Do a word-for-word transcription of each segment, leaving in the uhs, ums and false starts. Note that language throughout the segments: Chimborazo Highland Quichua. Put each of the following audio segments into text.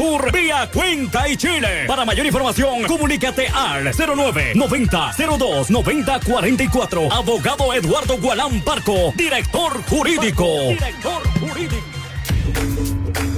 Sur vía Cuenca y Chile. Para mayor información, comunícate al cero nueve noventa cero dos noventa cuarenta y cuatro. Abogado Eduardo Gualán Parco, director jurídico. Director jurídico.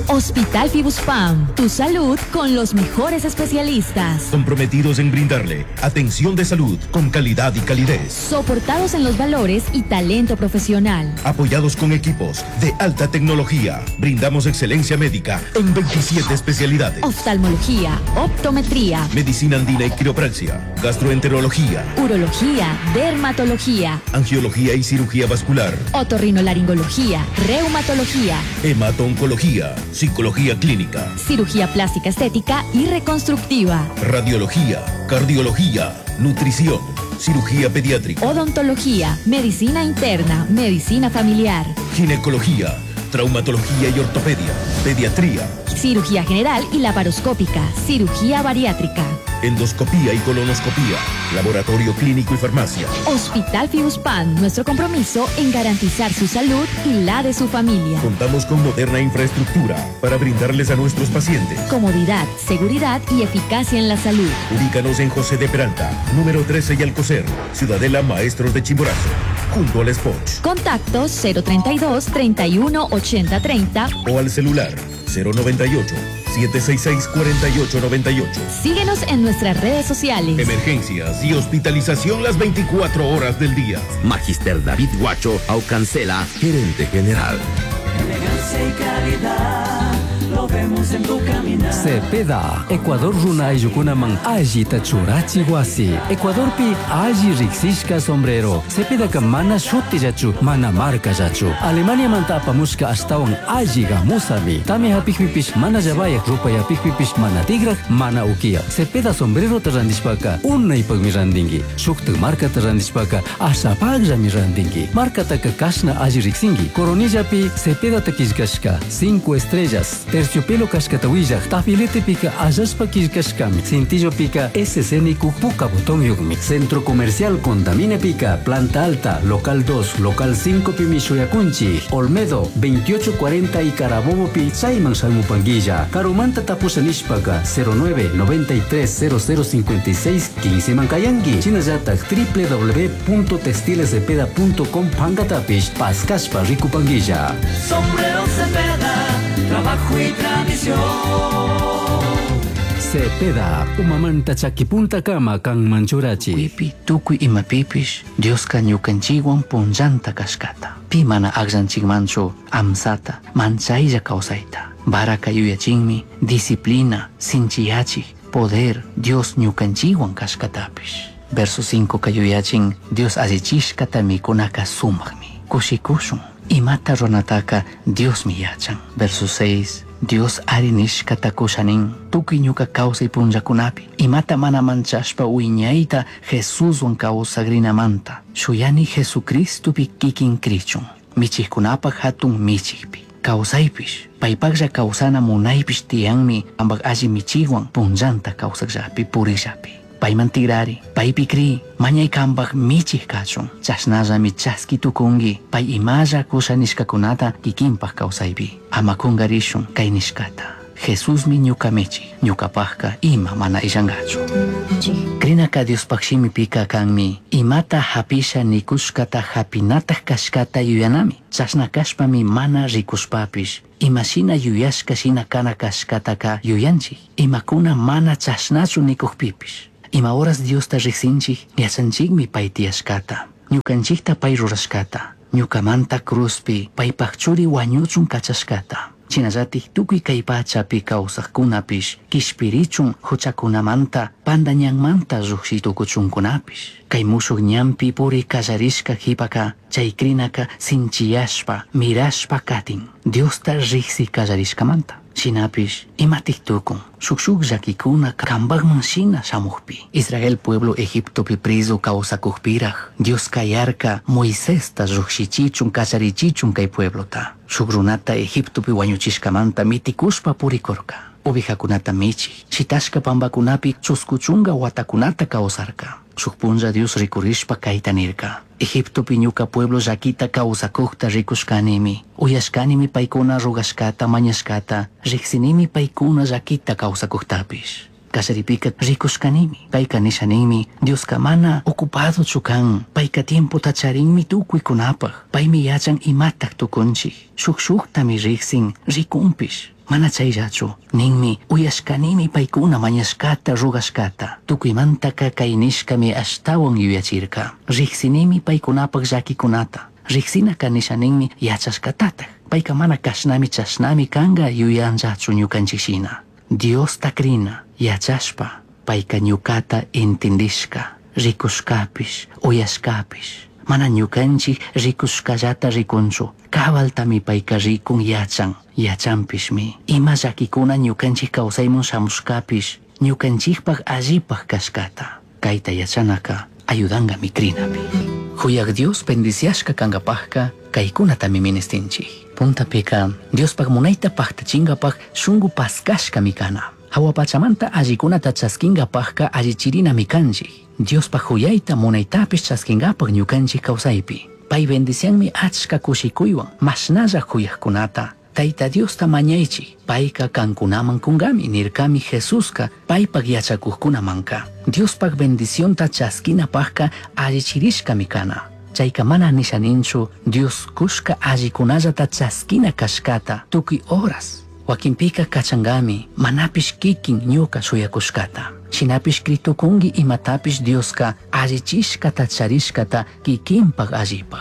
Hospital Fibuspam, tu salud con los mejores especialistas. Comprometidos en brindarle atención de salud con calidad y calidez. Soportados en los valores y talento profesional. Apoyados con equipos de alta tecnología, brindamos excelencia médica en veintisiete especialidades. Oftalmología, optometría, medicina andina y quiropraxia, gastroenterología, urología, dermatología, angiología y cirugía vascular, otorrinolaringología, reumatología, hemato-oncología, psicología clínica, cirugía plástica estética y reconstructiva, radiología, cardiología, nutrición, cirugía pediátrica, odontología, medicina interna, medicina familiar, ginecología, traumatología y ortopedia, pediatría, cirugía general y laparoscópica, cirugía bariátrica, endoscopía y colonoscopía, laboratorio clínico y farmacia. Hospital Fibuspam, nuestro compromiso en garantizar su salud y la de su familia. Contamos con moderna infraestructura para brindarles a nuestros pacientes comodidad, seguridad y eficacia en la salud. Ubícanos en José de Peralta, número trece y Alcocer, Ciudadela Maestros de Chimborazo, junto al Spot. Contacto cero treinta y dos, treinta y uno, ochenta, treinta o al celular cero noventa y ocho, siete seis seis, cuarenta y ocho noventa y ocho. Síguenos en nuestras redes sociales. Emergencias y hospitalización las veinticuatro horas del día. Magister David Guacho Aucancela, gerente general. Elegancia y calidad, lo vemos en tu caminar. Cepeda, Ecuador runa ayllukunaman allita churachi wasi. Ecuadorpi alli riksishka sombrero. Cepedaka mana shutillachu, mana markallachu. Alemania manta apamushka ashtawan alli gamusami. Tami hapikpipish mana llabayaq, rupayapikpipish mana tigraq, mana ukiya. Cepeda sombrero ta randishpaka unaypaqmi randinki. Shuktak markata randishpaka ashapaqllami randinki. Markataka kashna alli riksinki. Coronillapi Cepedata killkashka cinco estrellas. Terciopelo kashkata willaq, tafiletepika allashpa killkashkami. Cintillopika S C niku puka botón yukmi. Centro Comercial Contamine Pica, Planta Alta, Local dos, Local cinco pimi shuyakunchi, Olmedo, veintiocho cuarenta y Carabobo pi, Chayman Salmupanguilla, Karumanta tapusha nishpaka, cero nueve, noventa y tres, cero cero cincuenta y seis, quince Mancayanqui, Chinallatak, doble u doble u doble u punto textiles cepeda punto com pankatapish, Pascashpa Ricupanguilla. Sombrero Cepeda, trabajo y tradición. Cepeda, umamanta chakipunta kama kan manchurachi. Tukuipi, tukuy imapipish, Dioska ñukanchikwan punllanta kashkata. Pi mana akllanchikmanchu amsata, manchaylla kawsayta. Baraka yuyachinmi, disciplina, sinchiyachik, poder, Dios ñukanchikwan kashkatapish. Verso cinco kayuyachin, Dios allichishkata mikunaka sumakmi. Kushikushun, imata runataka Diosmi yachan. Verso seis, Dios ari nishkata kushanin, tukuy ñuka kawsay punllakunapi, imata mana manchashpa wiñayta Jesuswan kawsagrinamanta, shuyani Jesucristopi kikin krichun, michikkunapaj hatun michikpi. Kawsaypish, paypaqlla kawsana munaypish tiyanmi, ambaj alli michikwan punllanta kawsakllapi purillapi. Payman tigrari, paypi kri, mañay kambaj michik kachun, chashnallami chaski tukunki, pay imalla kusha nishkakunata kikinpaj kawsaypi. Ama kungarishun kay nishkata. Jesusmi ñuka michik, ñukapajka ima mana illankachu. Krinaka Diospaj shimipika kanmi, imata hapisha nikushkata hapinataj kashkata yuyanami. Chashna kashpami mana rikushpapish, imashina yuyashka shina kana kashkataka yuyanchik. Imakuna mana chashnachu nikukpipish. Ima horas Diosta riksinchik, yachanchikmi pay tiyashkata. Ñukanchikta pay rurashkata. Ñukamanta cruzpi paypaj churi wañuchun kachashkata. Shinallatik tukuy kay pachapi kawsaqkunapish, kishpirichun huchakunamanta, pandañanmanta lluqshitukuchunkunapish. Kay mushuq ñanpi puri kallarishka qhipaka, chay krinaka sinchiyashpa, mirashpa katin, Diosta riqsi kallarishkamanta. Shinapish, imatik tukun, shuk shuk llakikuna kambajman shina shamujpi. Israel pueblo Egiptopi preso kawsakujpiraj, Dios kayarka Moisesta llukshichichun kacharichichun kay pueblota. Shuk runata Egiptopi wañuchishkamanta mitikushpa purikurka. Ovejakunata michij, shitashka pambakunapi chusku chunka watakunata kawsarka. Shuk punlla Dios rikurishpa kayta nirka. Egiptopi ñuka pueblo llaquita kawsakukta rikushkanimi. Uyashkanimi paykuna rogashkata mañashkata, riksinimi paykuna llaquita kawsakuktapish. Kallaripika rikushkanimi. Payka nisha ninmi, Dioska mana ocupado kan, payka tiempota charinmi tukuykunapaj. Paymi yachan imatak tukunchik. Shuk shuktami riksin, rikunpish. Mana chayllachu, ninmi, uyashkanimi paykuna mañashkata rogashkata. Tukuymantaka kay nishkami ashtawan yuyachirka. Riksinimi paykunapaj llakikunata. Riksinaka nisha ninmi yachashkatataj. Payka mana kashnami chashnami kanga yuyanllachu ñukanchik shina. Diosta krina, yachashpa, payka ñukata entendishka, rikushkapish, uyashkapish. Mana ñukanchik rikushkallata rikunchu, kabaltami payka rikun yachan, yachanpishmi. Ima llakikuna ñukanchik kawsaymun shamushkapish, ñukanchikpaj allipaj kashkata. Kayta yachanaka ayudangami krinapi. Huyak Dios bendiciashka kankapajka kaykunatami ministinchik. Puntapika Diospaj munayta paktachingapaj shunku paskashkami kana. Hawa pachamanta allikunata chaskinkapajka allichirinami kanchik. Diospaj huyayta munaytapish chaskinkapaj ñukanchik kawsaypi. Pay bendicianmi achka kushikuywan mashnalla huyakkunata. Tayta Diosta mañaychik, payka kankunaman kunkami nirkami Jesuska paypak yachakuqkunamanka. Diospaj bendicionta chaskinapajka allichirishkami kana. Chayka mana nisha ninchu Dios kushka allikunallata chaskina kashkata tukuy horas. Wakinpika kachangami manapish kikin ñuka shuyakushkata. Shinapish kritukunki imatapish Dioska allichishkata charishkata kikinpaj allipaj.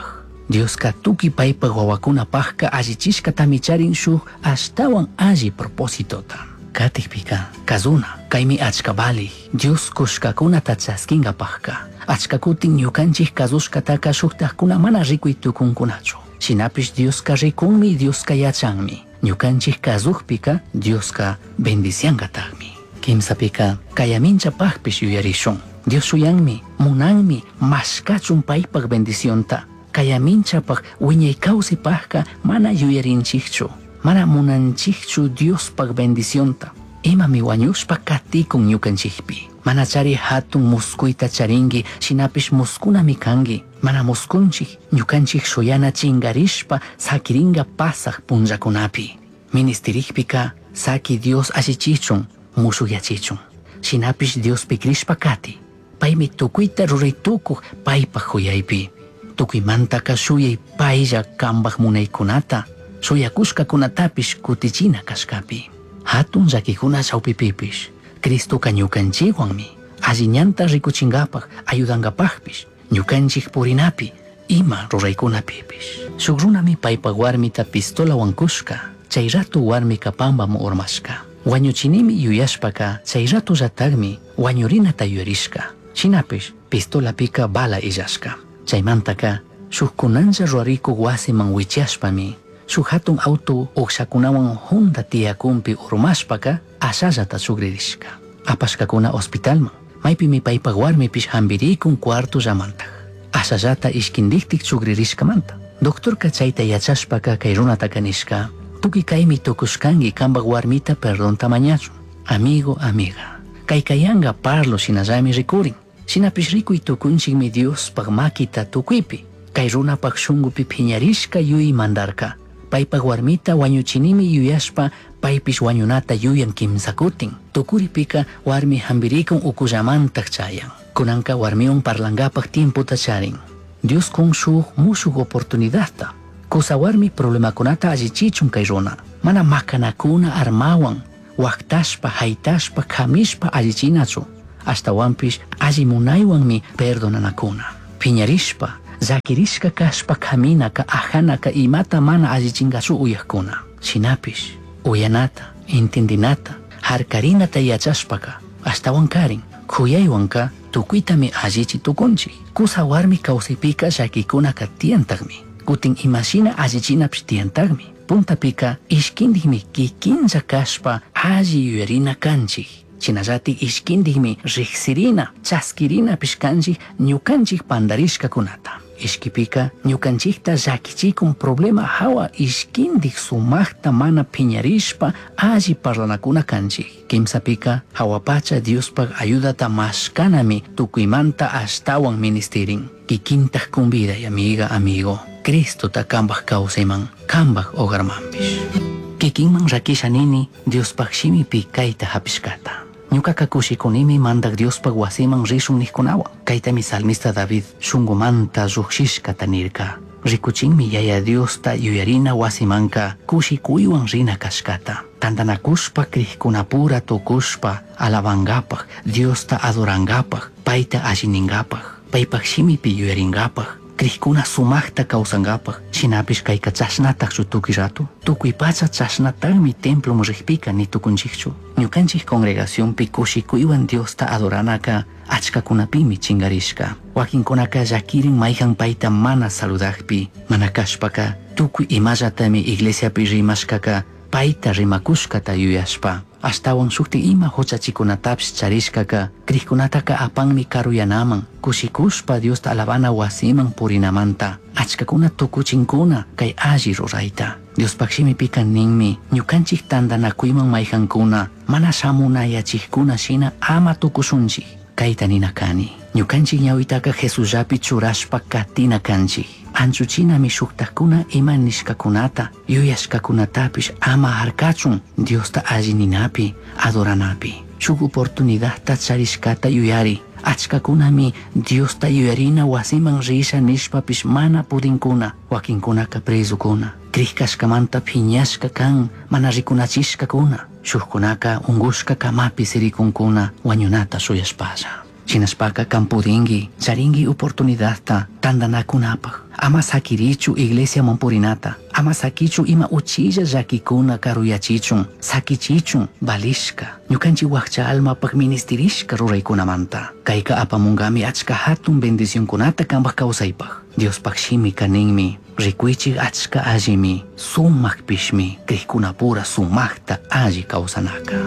Dioska tukuy paypaj wawakunapajka allichishkatami charin shuk ashtawan alli propósitota. Katikpika kazuna kaymi achka valij Dios kushkakunata chaskinkapajka. Achka kutin ñukanchik kazushkataka shuktajkuna mana rikuy tukunkunachu. Shinapish Dioska rikunmi, Dioska yachanmi. Ñukanchik kazukpika Dioska bendiciankatakmi. Kimsapika kayaminchapajpish yuyarishun. Dios shuyanmi, munanmi, mashkachun paypaj bendicionta. Kayaminchapaj wiñay kawsaypajka mana yuyarinchikchu. Mana munanchikchu Diospaj bendicionta. Imami wañushpa katikun ñukanchikpi. Mana chari hatun muskuyta charinki, shinapish muskunami kanki. Mana muskunchik, ñukanchik shuyana chingarishpa sakiringa pasaj punllakunapi. Ministerikpika saki Dios allichichun, mushuyachichun. Shinapish Diospi krishpa kati. Paymi tukuyta ruray tukuq paypaj huyaypi. Tukuymantaka shuyay paylla kanpaj munaykunata, shuyakushkakunatapish kutichina kashkapi. Hatun llakikuna chawpipipish, Cristoka ñukanchikwanmi, alli ñanta rikuchinkapaj, ayudankapajpish, ñukanchik purinapi, ima ruraykunapipish. Shuk runami paypaj warmita pistolawan kushka, chay rato warmika pampaman urmashka. Wañuchinimi yuyashpaka chay ratollatakmi wañurinata yuyarishka. Shinapish pistolapika bala illashka. Chaymantaka shuk kunanlla rurarikuk wasiman wichashpami shuk hatun auto ukshakunawan hunda tiyakunpi urmashpaka ashallata chukririshka. Apashkakuna hospitalman, maypimi paypaj warmipish hampirikun cuartollamantaj. Ashallata ishkindiktik chukririshkamanta. Doctorka chayta yachashpaka kay runataka nishka, tukuy kaymi tukushkanki kanpaj warmita perdonta mañachun. Amigo, amiga, kay kayanga parlo shinallami rikurin. Shinapish rikuy tukunchikmi Diospaj makita tukuypi. Kay runapaj shunkupi phiñarishka yuy mandarka. Paypaj warmita wañuchinimi yuyashpa paypish wañunata yuyan kimsakutin. Tukuripika warmi hampirikun ukullamantaj chayan. Kunanka warmiwan parlankapaj tiempota charin. Dios kun shuk mushuk oportunidadta. Kusa warmi problemakunata allichichun kay runa. Mana makanakuna armawan, waktashpa, haytashpa, kamishpa allichinachu. Ashtawanpish alli munaywanmi perdonanakuna. Piñarishpa, llakirishka kashpa kaminaka, ajanaka imata mana allichinkachu uyakuna. Shinapish, uyanata, intindinata, harkarinata yachashpaka, ashtawan karin, kuyaywanka tukuytami allichi tukunchik. Kusa warmi kawsaypika llakikunaka tiyantakmi. Kutin imashina allichinapish tiyantakmi. Puntapika ishkindikmi kikinlla kashpa alli yuyarina kanchik. Shinallatik ishkindikmi riksirina, chaskirinapish kanchik ñukanchik pandarishkakunata. Ishkipika ñukanchikta llakichikun problema hawa ishkindik sumaqta mana piñarishpa alli parlanakuna kanchik. Kimsapika hawapacha Diospaq ayudata mashkanami tukuymanta ashtawan ministirin. Kikintaq conviday amiga amigo. Cristota kambaj kawsayman kambaj hogarmanpish. Kikinman rakisha nini Diospaq shimipi kayta hapishkata. Ñukaqa kushikunimi mandak Diospaq wasiman rishun nijkunawan. Kaytami salmista David shunqumanta lluqshishkata nirka. Rikuchinmi yaya Diosta yuyarina wasimanka kushikuywan rina kashkata. Tantanakushpa krikkunapura tukushpa alabankapaq, Diosta adorankapaq, payta allininkapaq, paypaq shimipi yuyarinkapaq, krikuna sumaqta kawsankapaq, shinapish kayka chashnataqchu tukuy rato. Tukuy pacha chashnataqmi temploman riqpika ni tukunchikchu. Ñukanchik congregacionpi kushikuywan Diosta adoranaka achkakunapimi chinkarishka. Wakinkunaka llakirin mayhan payta mana saludaqpi, mana kashpaka tukuy imallatami iglesiapi rimashkaka payta rimakushkata yuyashpa. Ashtawan shukti ima huchachikunatapish charishkaka krikkunataka apanmi karuyanaman, kushikushpa Diosta alabana wasiman purinamanta. Achkakuna tukuchinkuna kay alli rurayta. Diospaq shimipika ninmi ñukanchik tantanakuyman mayhankuna mana shamunayachikkuna shina ama tukushunchik. Kayta nina kani. Ñukanchik ñawitaka Jesusllapi churashpa katina kanchik. Anchuchinami shuktakuna ima nishkakunata, yuyashkakunatapish ama harkachun Diosta alli ninapi, adoranapi. Shuk oportunidadta charishkata yuyari. Achkakunami Diosta yuyarina wasiman risha nishpapish mana pudinkuna, wakinkunaka prezukuna. Krikashkamanta phiñashka kan, mana rikunachishkakuna. Shukkunaka ungushka kamapi sirikunkuna wañunata shuyashpalla. Shinashpaka kan pudinki, charinki oportunidadta tantanakunapaq. Ama sakirichu iglesiaman purinata, ama sakichu ima uchilla llakikuna karuyachichun, sakichichun valishka, ñukanchik wakcha almapaq ministirishka ruraykunamanta. Kayka apamunkami achka hatun bendicionkunata kanpaq kawsaypaq. Diospaq shimika ninmi, rikuychik achka allimi, sumaqpishmi, krikkunapura sumaqta alli kawsanaka.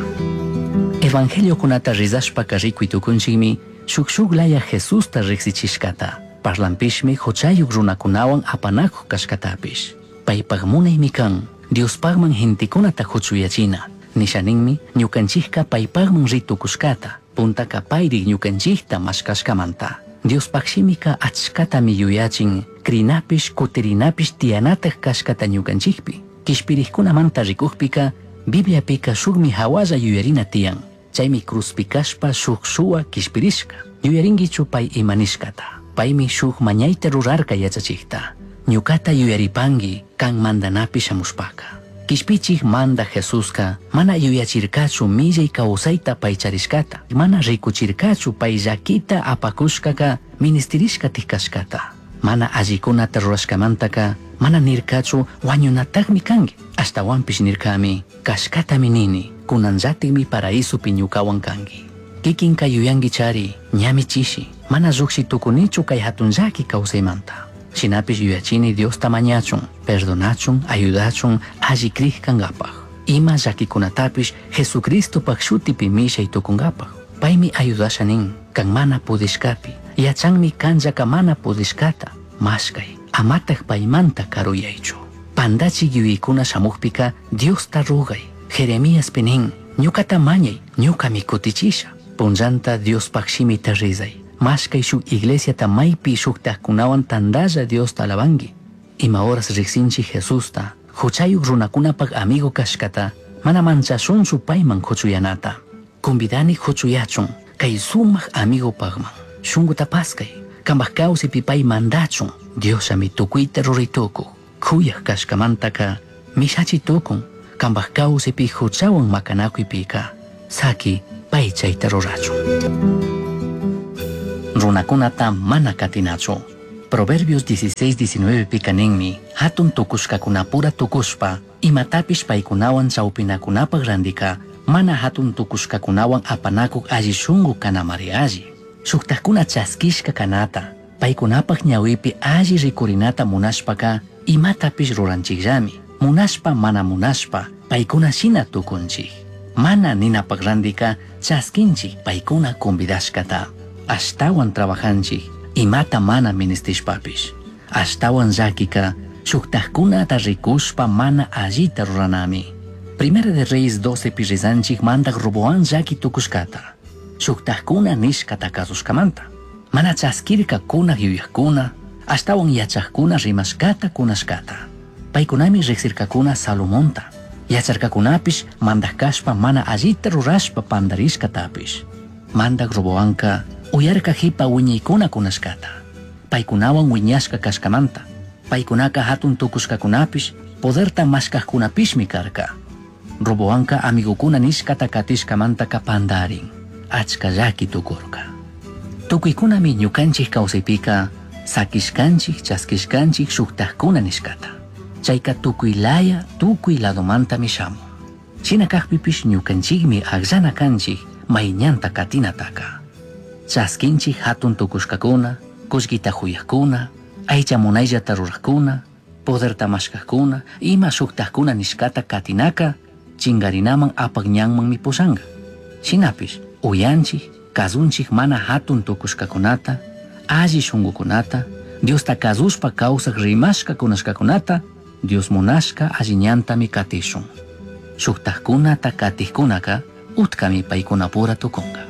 Evangeliokunata rizashpaka rikuy tukunchikmi, shuk shuk laya Jesusta riqsichishkata. Parlampishmi huchayuq runakunawan apanakuq kashkatapish. Paypaq munaymi kan, Diospaqman gentekunata huchuyachina. Nishaninmi ñukanchikka paypaqman ritukushkata, puntaka payrik ñukanchikta mashkashkamanta. Diospaq shimika achkatami yuyachin, krinapish kutirinapish tiyanataq kashkata ñukanchikpi. Kishpirikkunamanta rikukpika, Bibliapika shukmi hawalla yuyarina tiyan. Chaymi cruzpi kashpa shuk shuwa kishpirishka. Yuyarinkichu pay imanishkata. Paymi shuk mañayta rurarka yachachikta. Ñukata yuyaripanki kan mandanapi shamushpaka. Kishpichik manda Jesuska mana yuyachirkachu millay kawsayta pay charishkata. Mana rikuchirkachu pay llakita apakushkaka ministirishka kashkata. Mana allikunata rurashkamantaka mana nirkachu wañunataqmi kanki. Ashtawanpish nirkami kashkatami nini kunanllatikmi paraísopi ñukawan kanki. Kikinka yuyanki chari ñami chishi mana lluqshi tukunichu kay hatun llaki kawsaymanta. Shinapish yuyachini Diosta mañachun, perdonachun, ayudachun, alli krik kankapaq. Ima llakikunatapish Jesucristopaq shutipi mishay tukunkapaq. Paymi ayudasha nin, kan mana pudishkapi, yachanmi kanllaka mana pudishkata, mashkay, amataq paymanta karuyaychu. Pandachik yuyaykuna shamukpika Diosta rugay. Jeremíaspi nin, ñukata mañay, ñukami kutichisha. Punllanta Diospaq shimita rizay. Mashkay shuk iglesiata maypi shuktakkunawan tantalla Diosta alabanki. Ima horas riqsinchik Jesusta, huchayuq runakunapaq amigo kashkata, mana manchashunchu payman huchuyanata. Convidani huchuyachun, kay sumaq amigopaqman. Shunquta paskay, kanpaq kawsaypi pay mandachun, Diosllami tukuyta ruraytukuq. Kuyaq kashkamantaka mishachi tukun, kanpaq kawsaypi huchawan makanakuypika. Saki pay chayta rurachun. Runakunata mana katinachu. Proverbios dieciséis diecinueve pika ninmi, hatun tukushkakunapura tukushpa, imatapish paykunawan chawpinakunapaq randika, mana hatun tukushkakunawan apanakuq alli shunqu kanamari alli. Shuktakuna chaskishka kanata, paykunapaq ñawipi alli rikurinata munashpaka, imatapish ruranchikllami. Munashpa mana munashpa, paykuna shina tukunchik. Mana ninapaq randika, chaskinchik paykuna convidashkata. Ashtawan trabajanchik, imata mana ministishpapish. Ashtawan llaquika shuktajkunata rikushpa mana allita ruranami. Primera de Reyes doce pi rizanchik mandak Roboán llaki tukushkata. Shuktajkuna nishkata kasushkamanta. Mana chaskirka kunak yuyajkuna, ashtawan yachajkuna rimashkata kunashkata. Paykunami riksirkakuna Salomonta. Yacharkakunapish mandak kashpa mana allita rurashpa pandarishkatapish. Mandak Roboanka uyarka hipa wiñaykuna kunashkata. Paykunawan wiñashka kashkamanta. Paykunaka hatun tukushkakunapish poderta mashkajkunapishmi karka. Roboanka amigokuna nishkata katishkamantaka pandarin. Achka llaki tukurka. Tukuykunami ñukanchik kawsaypika sakishkanchik chaskishkanchik shuktajkuna nishkata. Chayka tukuy laya tukuy ladomantami shamun. Shina kajpipish ñukanchikmi akllana kanchik mayñanta katinataka. Chaskinchik hatun tukushkakuna, kullkita huyajkuna, aycha munayllata rurajkuna, poderta mashkajkuna, ima shuktajkuna nishkata katinaka, chingarinaman apak ñanmanmi pushanka. Shinapish uyanchik, kazunchik mana hatun tukushkakunata, alli shunkukunata, Diosta kazushpa kawsaj rimashka kunashkakunata, Dios munashka alli ñantami katishun. Shuktajkunata katijkunaka, utkami paykunapura tukunka.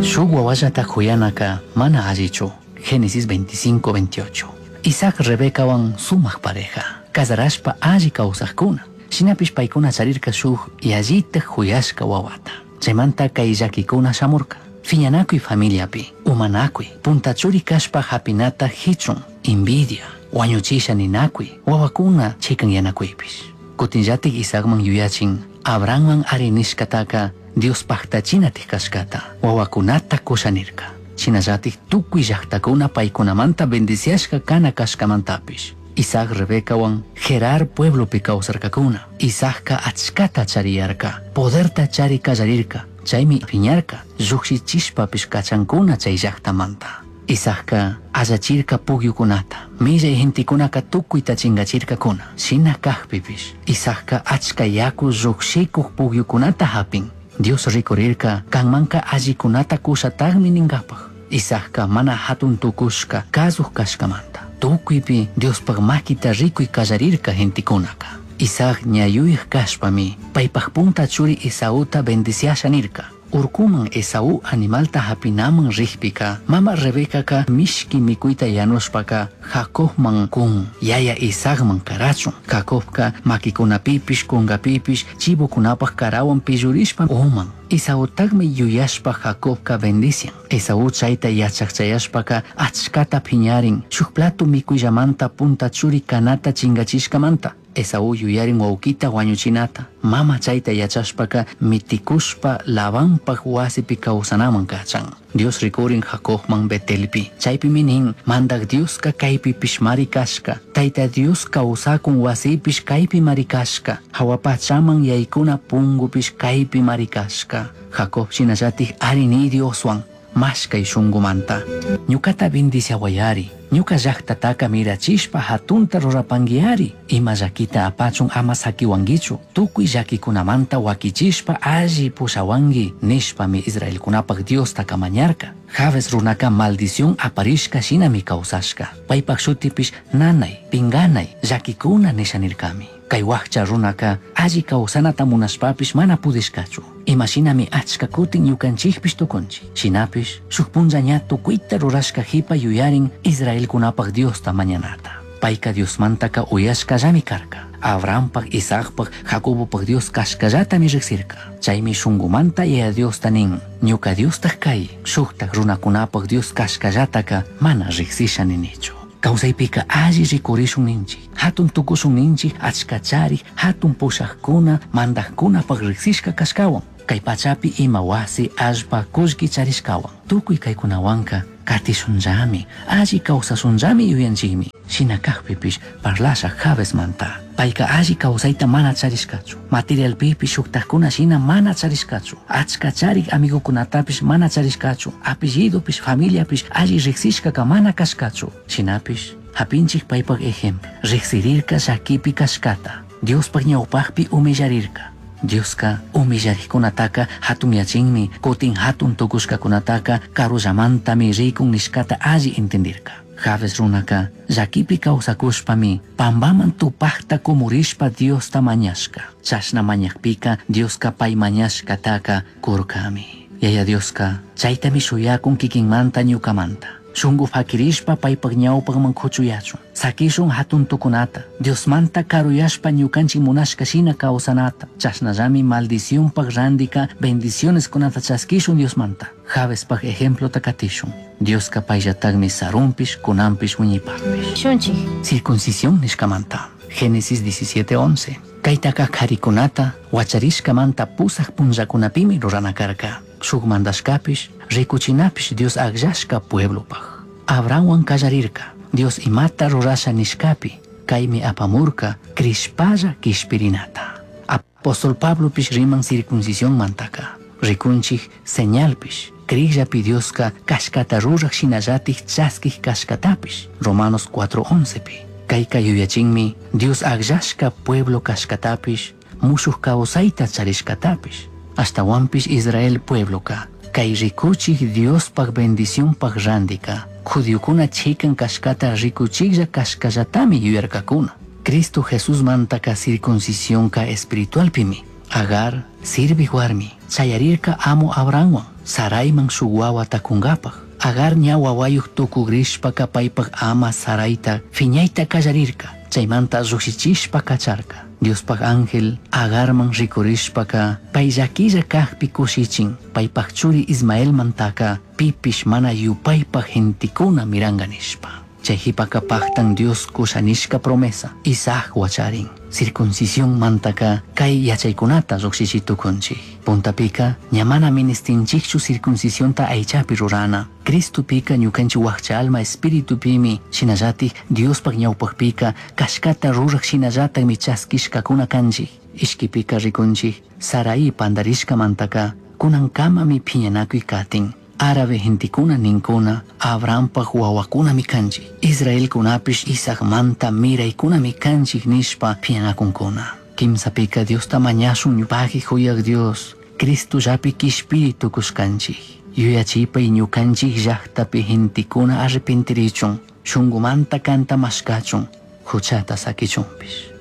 Shuk wawallata huyanaka mana allichu. Génesis veinticinco, veintiocho. Isaac Rebecawan sumak pareja, casarashpa alli kawsajkuna. Shinapish paykuna charirka shuk yallita huyashka wawata. Chaymanta kay llakikuna shamurka. Fiñanakuy familiapi, umanakuy, punta churi kashpa hapinata hichun, envidia, wañuchisha ninakuy, wawakuna chikanyanakuypish. Kutinllatik Isaacman yuyachin, Abrahamman ari nishkataka Dios paktachinatik kashkata, wawakunata kushanirka. Shinallatik tukuy llaktakuna paykunamanta bendiciashka kana kashkamantapish. Isaac Rebecawan Gerar pueblopi kawsarkakuna. Isaacka achkata chariyarka, poderta chari kallarirka, chaymi piñarka, llukshichishpapish kachankuna chay llaktamanta. Isaacka allachirka pukyukunata, millay gentekunaka tukuyta chingachirkakuna. Shina kajpipish, Isaacka achka yaku llukshikuq pukyukunata hapin. Dios rikurirka kanmanka allikunata kushataqmi ninkapaq. Isaacka mana hatun tukushka kasuq kashkamanta. Tukuypi Diospaq makita rikuy kallarirka gentekunaka. Isaac ñayuyaq kashpami paypaq punta churi Esauta bendiciasha nirka. Urkuman Esaú animalta hapinaman rijpika, mama Rebecaka mishki mikuyta yanushpaka Jacobman kun, yaya Isaacman karachun. Jacobka makikunapipish kungapipish chivokunapaq karawan pillurishpa uman. Esautaqmi yuyashpa Jacobka bendician. Esaú chayta yachaqchayashpaka achkata phiñarin, shuk plato mikuyllamanta punta churi kanata chingachishkamanta. Esaú yuyarin wawkita wañuchinata. Mama chayta yachashpaka mitikushpa Labanpaq wasipi kawsanaman kachan. Dios rikurin Jacobman Betelpi. Chaypimi nin, mandak Dioska kaypipish mari kashka. Tayta Dios kawsakun wasipish kaypi mari kashka. Hawapachaman yaykuna pungupish kaypi mari kashka. Jacob shinallatik ari ni Dioswan mashkay shunkumanta. Ñukata bendiciawayari. Ñuka llaqtataka mirachishpa hatunta rurapanguiari. Ima llakita apachun ama sakiwankichu. Tukuy llakikunamanta wakichishpa alli pushawanki nishpami Israelkunapaq Diosta kamañarka. Jabes runaka maldición aparishka shinami kawsashka. Paypaq shutipish nanay, pinganay, llakikuna nishanirkami. Kay wakcha runaka alli kawsanata munashpapish mana pudishkachu. Imashinami achka kutin ñukanchikpish tukunchik. Shinapish shuk punlla ña tukuyta rurashka hipa yuyarin Israelkunapaq Diosta mañanata. Payka Diosmantaka uyashkallami karka. Abrahampaq, Isaacpaq, Jacobopaq Dios kashkallatami riqsirka. Chaymi shunkumanta Yaya Diosta nin, ñuka Diostaq kay, shuktak runakunapaq Dios kashkallataka mana riqsisha ninichu. Kawsaypika alli rikurishun ninchik, hatun tukushun ninchik, achka charik, hatun pushaqkuna, mandaqkunapaq riqsishka kashkawan. Kay pachapi ima wasi, allpa, kullki charishkawan. Tukuy kaykunawanka katishunllami, alli kawsashunllami yuyanchikmi. Shina kajpipish parlasha Jabesmanta. Payka alli kawsayta mana charishkachu. Materialpipish shuktajkuna shina mana charishkachu. Achka charik amigukunatapish mana charishkachu. Apellidopish familiapish alli riqsishkaka mana kashkachu. Shinapish hapinchik paypaq ejemplo. Riqsirirka llakipi kashkata. Diospaq ñawpaqpi humillarirka. Dioska humillariqkunataka hatunyachinmi, kutin hatun tukushkakunataka karullamantami rikun nishkata alli entendirka. Jabes runaka llakipi kawsakushpami pambaman tupakta kumurishpa Diosta mañashka. Chashna mañakpika Dioska pay mañashkataka kurkami. Yaya Dioska chaytami shuyakun kikinmanta ñukamanta. Shunku fakirishpa paypak ñawpakman kuchuyachun. Sakishun hatun tukunata. Diosmanta karuyashpa ñukanchik munashka shina kawsanata. Chashnallami maldicionpak randika bendicioneskunata chaskishun Diosmanta. Jabespak ejemplota katishun. Dioska payllatakmi sarunpish kunanpish wiñaypakpish. Shunchik. Circuncisión nishkamanta. Génesis diecisiete once. Kaytaka karikunata wacharishkamanta pusaq punllakunapimi rurana karka. Shuk mandashkapish rikuchinapish Dios akllashka pueblopaj. Abrahamwan kallarirka. Dios imata rurasha nishkapi. Kaymi apamurka krishpalla kishpirinata. Apóstol Pablopish riman circuncisión mantaka. Rikunchik señalpish. Kriyllapi Dioska kashkata ruraj shinallatik chaskij kashkatapish. Romanos cuatro oncepi. Kayka yuyachinmi Dios akllashka pueblo kashkatapish, mushuj kawsayta charishkatapish. Ashtawanpish Israel puebloka kay rikuchik Diospaj bendicionpaj randika judiokuna chikan kashkata rikuchiklla kashkallatami yuyarkakuna. Cristo Jesusmantaka circuncisionka espiritualpimi. Agar sirvij warmi chayarirka amo Abrahamwan Saraiman shuk wawata kunkapaj. Agar ña wawayuj tukugrishpaka paypaj ama Saraita fiñayta kallarirka. Chaymanta llukshichishpa kacharka. Diospaj ángel Agarman rikurishpaka pay llakilla kajpi kushichin paypaj churi Ismaelmantaka pipish mana yupaypaj gentikuna miranka nishpa. Chay jipaka paktan Dios kushanishka promesa Isaac wacharin. Circuncisión mantaka kay yachaykunata llukshichitukunchik. Puntapika ña mana ministinchikchu circuncisionta aychapi rurana. Cristopika ñukanchik wakcha alma espiritupimi shinallatik Diospaj ñawpakpika kashkata ruraj shinallatakmi chaskishkakuna kanchik. Ishkipika rikunchik Sarai pandarishkamantaka kunankamami phiñanakuy katin. Árabe gentikuna ninkuna Abrahampaj wawakunami kanchik. Israelkunapish Isaacmanta miraykunami kanchik nishpa phiñanakunkuna. Kimsapika Diosta mañashun ñupaqi huyaq Dios Cristo llapi kishpiri tukushkanchik. Yuyachipay ñukanchik llaqtapi gentikuna arrepentirichun, shunkumanta kanta mashkachun, huchata sakichunpish.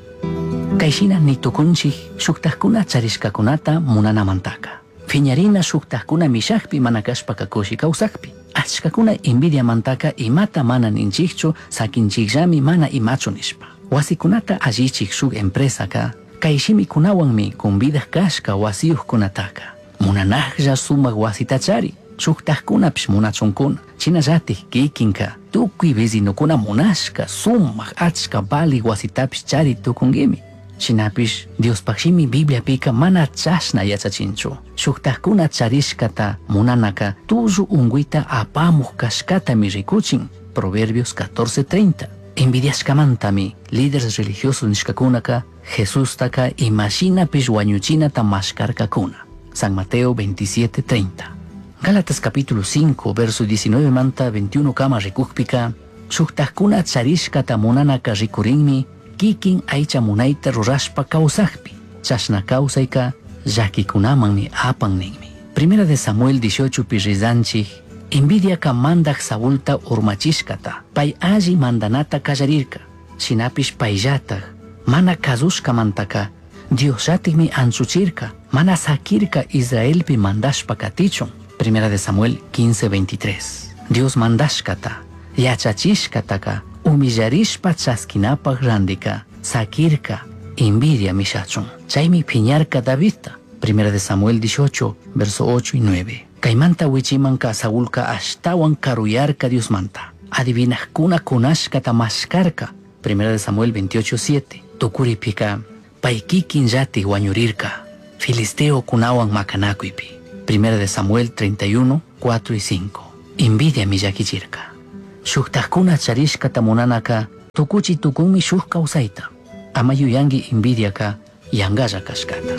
Kayshina nitukunchik shuktajkuna charishkakunata munanamantaka. Phiñarina shuktajkuna mishakpi mana kashpaka kushi kawsakpi. Achkakuna envidiamantaka imata mana ninchikchu sakinchikllami mana imachu nishpa. Wasikunata allichik shuk empresaka kay shimikunawanmi convidaj kashka wasiyuqkunataka. Munanajlla sumak wasita chari, shuktajkunapish munachunkuna. Shinallatik kikinka tukuy vecinokuna munashka sumak achka vali wasitapish chari tukunkimi. Shinapish Diospaj shimi Bibliapika mana chashna yachachinchu. Shuktajkuna charishkata munanaka tullu unguita apamuj kashkatami rikuchin. Proverbios catorce treinta. Envidiashkamantami líderes religiosos nishkakunaka Jesustaka imashinapish wañuchinata mashkarkakuna. San Mateo veintisiete treinta. Gálatas capítulo cinco, verso diecinueve manta veintiuno kama rikukpika, shuktajkuna charishkata munanaka rikurinmi kikin aycha munayta rurashpa kawsakpi. Chashna kawsayka llakikunamanmi apan ninmi. Primera de Samuel dieciocho pirrizanchik, envidiaka mandaj Saulta urmachishkata, pay alli mandanata kallarirka, shinapish payllataj, mana kazushkamantaka, Diosllatikmi anchuchirka, mana sakirka Israelpi mandashpa katichun. Primera de Samuel quince veintitrés. Dios mandashkata, yachachishkataka, humillarishpa chaskinapaj randika, sakirka, envidia mishachun. Chaymi piñarka Davidta. Primera de Samuel dieciocho, verso ocho y nueve. Kaymanta wichimanka Saulka ashtawan karuyarka Diosmanta. Adivinajkuna kunashkata mashkarka. Primera de Samuel veintiocho, siete. Tukuripika, pay kikin llati wañurirka. Filisteo kunawan makanakuypi. Primera de Samuel treinta y uno, cuatro y cinco. Envidia millakichirka. Shuktajkuna charishkata munanaka, tukuchi tukunmi shuk kawsayta. Ama yuyanki envidiaka yangalla kashkata.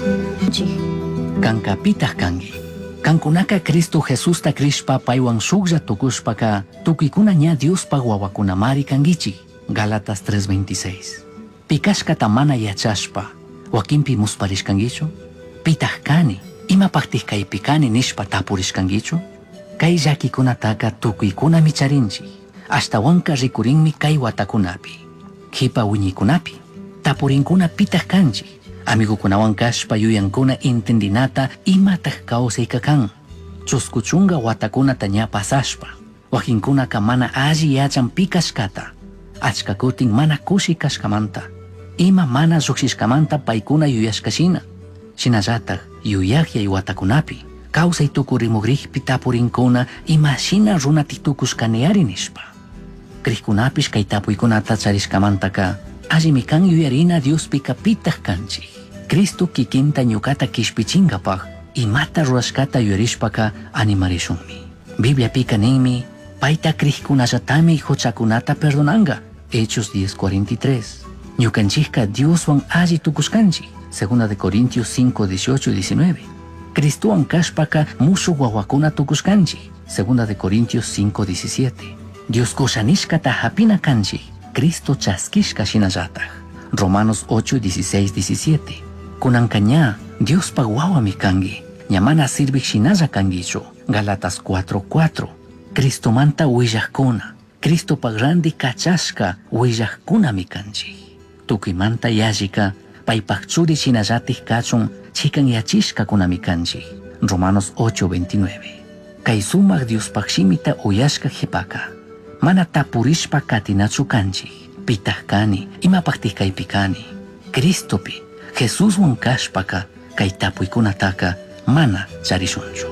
Kankapitaj kanki. Kankunaka Cristo Jesusta krishpa paywan shuklla tukushpaka, tukuykuna ña Diospaj wawakunamari kankichik. Gálatas tres veintiséis. Pikashkata mana yachashpa, wakinpi musparishkankichu? Pitaj kani, imapajtij kaypi kani nishpa tapurishkankichu? Kay llakikunataka tukuykunami charinchik. Ashtawanka rikurinmi kay watakunapi. Kipa wiñikunapi. Tapurinkuna pitaq kanchik. Amigukunawan kashpa yuyankuna intendinata imataq kawsayka kan. Chusku chunka watakunata ña pasashpa. Wakinkunaka mana alli yachan pi kashkata. Achka kutin mana kushi kashkamanta. Ima mana lluqshishkamanta paykuna yuyashkashina. Shinallatak yuyaqyay watakunapi. Kawsay tukurimukriqpi tapurinkuna imashina runa tukushkaniari nishpa. Krikkunapish kay tapuykunata charishkamantaka allimi kan yuyarina Diospika pitaq kanchik. Cristo kikinta ñukata kishpichinkapaq imata rurashkata yuyarishpaka animarishunmi. Bibliapika ninmi payta krikkunallatami huchakunata perdonanka. Hechos diez cuarenta y tres. Ñukanchikka Dioswan alli tukushkanchik. Segunda de Corintios cinco, dieciocho y diecinueve. Cristowan kashpaka mushuq wawakuna tukushkanchik. Segunda de Corintios cinco, diecisiete. Dios kushanishkata hapina kanchik. Cristo chaskishka shinallataj. Romanos ocho, dieciséis, diecisiete. Kunanka ña Diospa wawami kanki. Ña mana sirvik shinalla kankichu. Galatas cuatro, cuatro. Cristomanta willajkuna. Cristopa randi kachashka willajkunami kanchik. Tukuymanta yallika paypaj churi shinallatik kachun chikan yachishkakunami kanchik. Romanos ocho, veintinueve. Kay sumak Diospaj shimita uyashka qhipaka. Mana tapurishpa katinachu kanchik. Pitaq kani, imapaqtij kaypi kani. Cristopi, Jesuswan kashpaka, kay tapuykunataka mana charishunchu.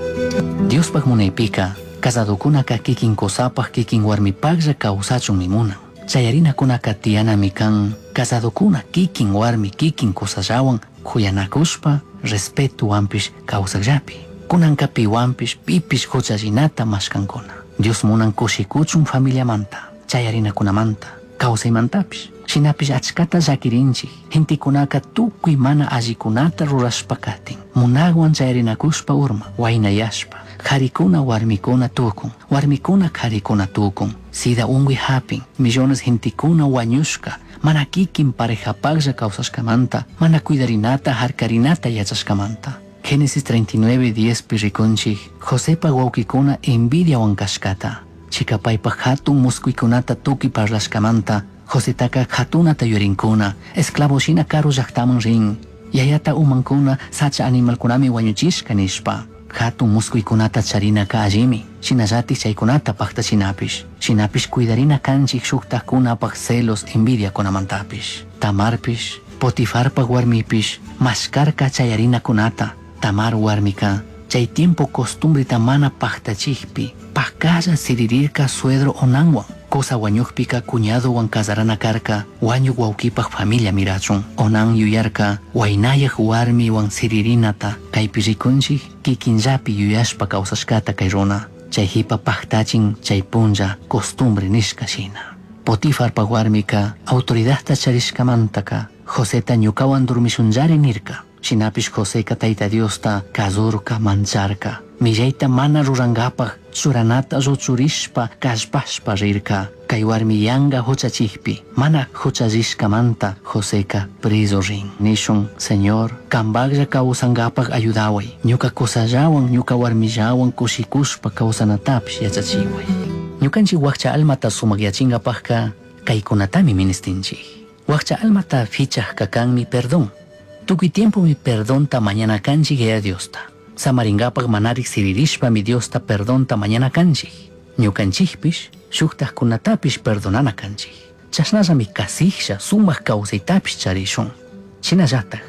Diospaj munaypika, casadokunaka kikin kosapaj kikin warmipajlla kawsachunmi munan. Chayarinakunaka tiyanami kan, casadokuna kikin warmi kikin kosallawan kuyanakushpa, respetuwanpish kawsakllapi. Kunanka piwanpish pipish huchallinata mashkankuna. Dios munan kushikuchun familiamanta, chayarinakunamanta, kawsaymantapish. Shinapish achkata llakirinchik, gentikunaka tukuy mana allikunata rurashpa katin. Munagwan chayarinakushpa urma, waynayashpa, qarikuna warmikuna tukun, warmikuna qarikuna tukun. Sida unguy hapin, millones gentikuna wañushka, mana kikin parejapaqlla kawsashkamanta, mana cuidarinata harkarinata yachashkamanta. Génesis treinta y nueve, diez pi rikunchik, Josepa wawkikuna envidiawan kashkata. Chikapaypa hatun muskuykunata tukuy parlashkamanta, Josetaka hatunata yurinkuna, esclavo shina karu llaqtaman rin. Yayata umankuna sacha animalkunami wañuchishka nishpa. Hatun muskuykunata charinaka allimi, shinallatik chaykunata paqtachinapish. Shinapish cuidarina kanchik shuktajkunapaq celos envidiakunamantapish. Tamarpish, Potifarpaq warmipish, mashkarka chayarinakunata. Tamar warmika, chay tiempo costumbrita mana paqtachikpi, pakalla siririrka suegro Onanwan. Cosa wañuqpika cuñadowan casarana karka, wañuq wawkipaq familia mirachun. Onan yuyarka, waynayaq warmiwan siririnata, kaypi rikunchik kikinllapi yuyashpa kawsashkata kay runa. Chay hipa paqtachin chay punlla costumbre nishka shina. Potifarpaq warmika, autoridadta charishkamantaka, Joseta ñukawan durmishunllari nirka. Shinapish Joseka Tayta Diosta kasurka mancharka. Millayta mana rurankapaq churanata lluchurishpa kallpashpa rirka. Kay warmi yanka huchachikpi mana huchallishkamanta Joseka preso rin. Nishun, Señor, kambaqlla kawsankapaq ayudaway. Ñuka kusallawan, ñuka warmillawan kushikushpa kawsanatapish yachachiway. Ñukanchik wakcha almata sumakyachinapaqka kaykunatami ministinchik. Wakcha almata fichaqka kanmi perdón. Tukuy tiempo mi perdonta mañana kanchik Yaya Diosta. Samaringapaq manarik siririshpa mi Diosta perdonta mañana kanchik. Ñukanchikpish shuktajkunatapish perdonana kanchik. Chashnallami kasijlla sumaq kawsaytapish charishun. Shinallataj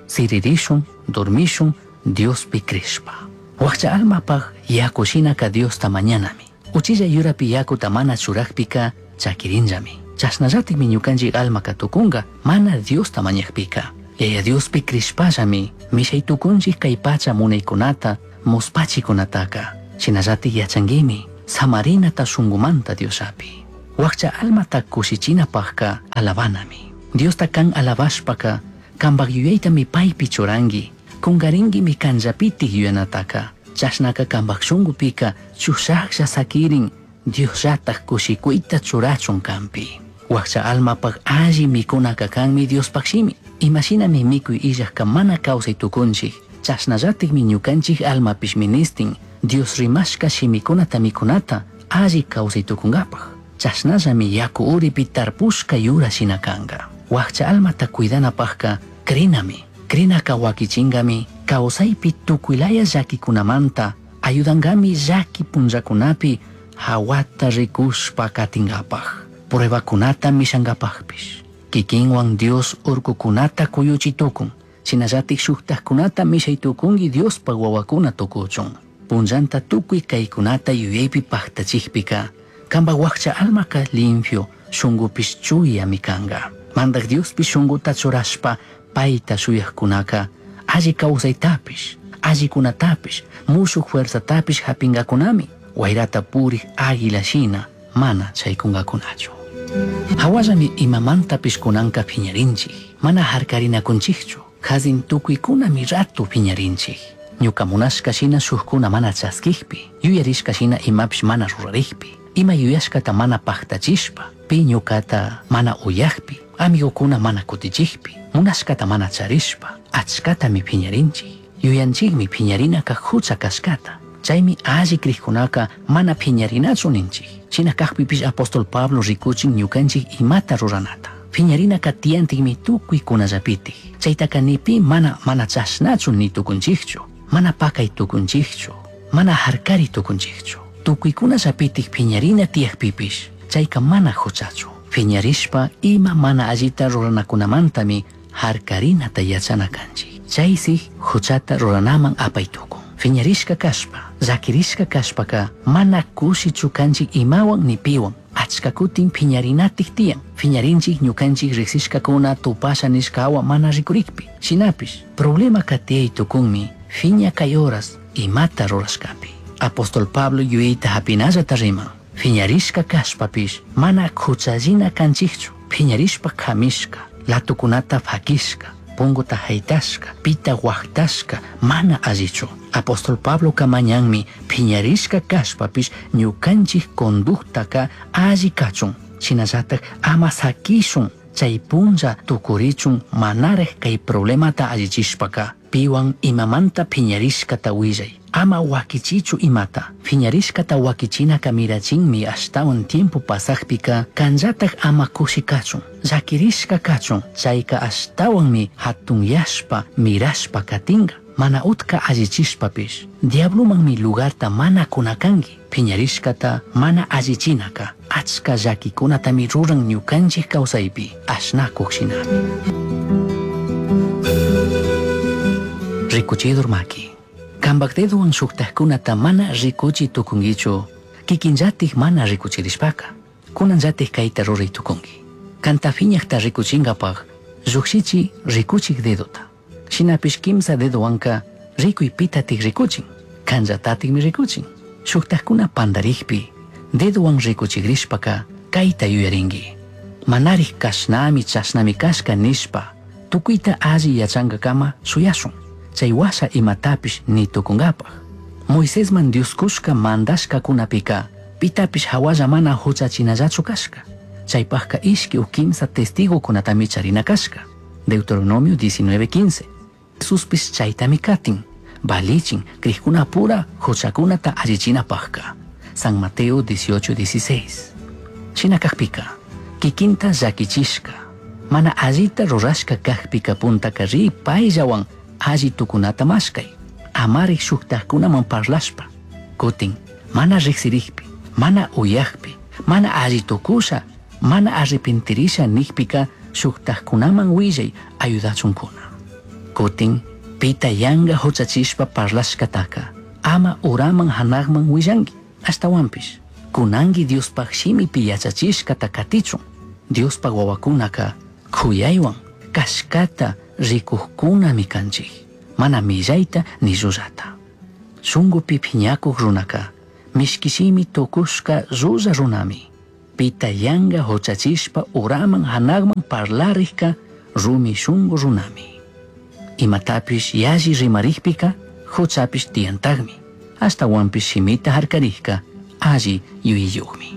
siririshun, dormishun Diospi crishpa. Wakcha almapaq yaku shinaka Diosta mañanami. Uchilla yurapi yakuta mana churakpika chakirinllami. Chashnallatikmi ñukanchik almaka tukunka mana Diosta mañakpika. Yaya Diospi crishpallami mishay tukunchik kay pacha munaykunata muspachikunataka. Shinallatik yachanguimi samarinata shunkumanta Diosapi. Wakcha almata kushichinapaqka alabanami. Diosta kan alabashpaka kanpaq yuyaytami paypi churanki. Kunkarinki kanllapitik yuyanataka. Chashnaka kanpaq shunkupika chushaqlla sakirin Diosllataj kushikuyta churachun kanpi. Wakcha almapaq alli mikunaka kanmi Diospaq shimi. Imashinami mikuy illajka mana kawsay tukunchik. Chashnallatikmi ñukanchik almapish ministin Dios rimashka shimikunata mikunata alli kawsay tukunkapaq. Chashnallami yaku uripi tarpushka yura shina kanka. Wakcha almata cuidanapajka crinami. Crinaka wakichingami kawsaypi tukuylaya llakikunamanta ayudankami llaki punllakunapi hawata rikushpa katingapaj. Pruebakunata mishankapajpish. Kikinwan Dios urkukunata kuyuchi tukun. Shinallatik shuktajkunata mishay tukunki Diospaj wawakuna tukuchun. Punllanta tukuy kaykunata yuyaypi paktachikpika kanpak wakcha almaka limpio shunkupish chuyami kanka. Mandak Diospi shunkuta churashpa payta shuyajkunaka alli kawsaytapish, allikunatapish, mushuk fuerzatapish hapinkakunami. Wayrata purik águila shina mana chaykunkakunachu. Hawallami imamantapish kunanka phiñarinchik, mana harkarinakunchikchu. Kazin tukuykunami ratu phiñarinchik. Ñuka munashka shina shukkuna mana chaskikpi, yuyarishka shina imapish mana rurarikpi, ima yuyashkata mana paktachishpa, pi ñukata mana uyakpi, amigokuna mana kutichikpi, munashkata mana charishpa, achkatami phiñarinchik. Yuyanchikmi phiñarinaka hucha kashkata. Chaymi alli krikkunaka mana phiñarinachu ninchik. Shina kakpipish apóstol Pablo rikuchin ñukanchik imata ruranata. Phiñarinaka tiyantikmi tukuykunallapitik. Chaytaka nipi mana mana chashnachu ni tukunchikchu, mana pakay tukunchikchu, mana harkari tukunchikchu. Tukuykunallapitik phiñarina tiyakpipish chayka mana huchachu. Phiñarishpa ima mana allita ruranakunamantami harkarinata yachana kanchik. Chaysi huchata ruranaman apay tukun. Phiñarishka kashpa, llakirishka kashpaka mana kushichu kanchik imawan ni piwan. Achka kutin phiñarinatik tiyan. Phiñarinchik ñukanchik riksishkakuna tupasha nishkawa mana rikurikpi. Shinapish, problemaka tiyay tukunmi phiña kay horas imata rurashkapi. Apóstol Pablo yuyayta hapinallata riman. Phiñarishka kashpapish mana huchallina kanchikchu. Phiñarishpa kamishka, latukunata fakishka, punguta haytashka, pita waktashka, mana allichu. Apóstol Pablo kamañanmi phiñarishka kashpapish ñukanchik conductaka alli kachun. Shinallatak ama sakishun chay punlla tukurichun manaraj kay problemata allichishpaka. Piwan imamanta phiñarishkata willay. Ama wakichichu imata. Phiñarishkata wakichinaka mirachinmi ashtawan tiempo pasakpika kanllatak ama kushi kachun. Llakirishka kachun. Chayka ashtawanmi hatunyashpa mirashpa katinka. Mana utka allichishpapish. Diablomanmi lugarta mana kunakanki. Phiñarishkata mana allichinaka. Achka llakikunatami ruran ñukanchik kawsaypi. Ashnakuq shinami. Rikuchidur maki. Kanpak dedowan shuktajkunata mana rikuchi tukunkichu, kikinllatik mana rikuchirishpaka. Kunanllatik kayta ruray tukunki. Kanta phiñakta rikuchinkapaj llukshichi rikuchik dedota. Shinapish kimsa dedowanka rikuy pitatik rikuchin, kanllatatikmi rikuchin. Shuktajkuna pandarikpi dedowan rikuchikrishpaka kayta yuyarinki. Manarik kashnami chashnami kashka nishpa tukuyta alli yachankakama shuyashun. Chay washa imatapish ni tukunkapaj. Moisesman Dios kushka mandashkakunapika pitapish hawalla mana huchachinallachu kashka. Chaypajka ishki u kimsa testigokunatami charina kashka. Deuteronomio diecinueve quince. Jesuspish chaytami katin. Balichin krikkunapura huchakunata allichinapajka. San Mateo dieciocho dieciséis. Shina kakpika kikinta llakichishka mana allita rurashka kakpika puntaka ri payllawan alli tukunata mashkay. Amarik shuktajkunaman parlashpa. Kutin mana riksirikpi, mana uyakpi, mana alli tukusha, mana arrepentirisha nikpika shuktajkunaman willay ayudachunkuna. Kutin pita yanga huchachishpa parlashkataka ama uraman hanakman willanki. Ashtawanpish kunanki Diospaj shimipi yachachishkata katichun. Diospaj wawakunaka kuyaywan kashkata rikukkunami kanchik, mana millayta ni llullata. Shunkupi phiñakuq runaka mishkishimi tukushka llulla runami. Pita yanga huchachishpa uraman hanakman parlarikka rumi shunku runami. Imatapish yalli rimarikpika huchapish tiyantagmi. Ashtawanpish shimita harkarikka alli yuyayuqmi.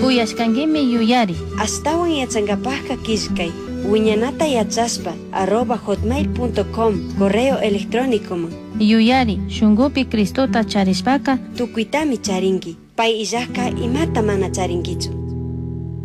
Uyashkankimi yuyari. Ashtawan yachankapajka killkay. Huiñanata yachashpa arroba hotmail.com correo electrónicoman. Yuyari, shungupi Cristota charishpaka Tucuitami charinki. Pai illajka imata mana charinkichu.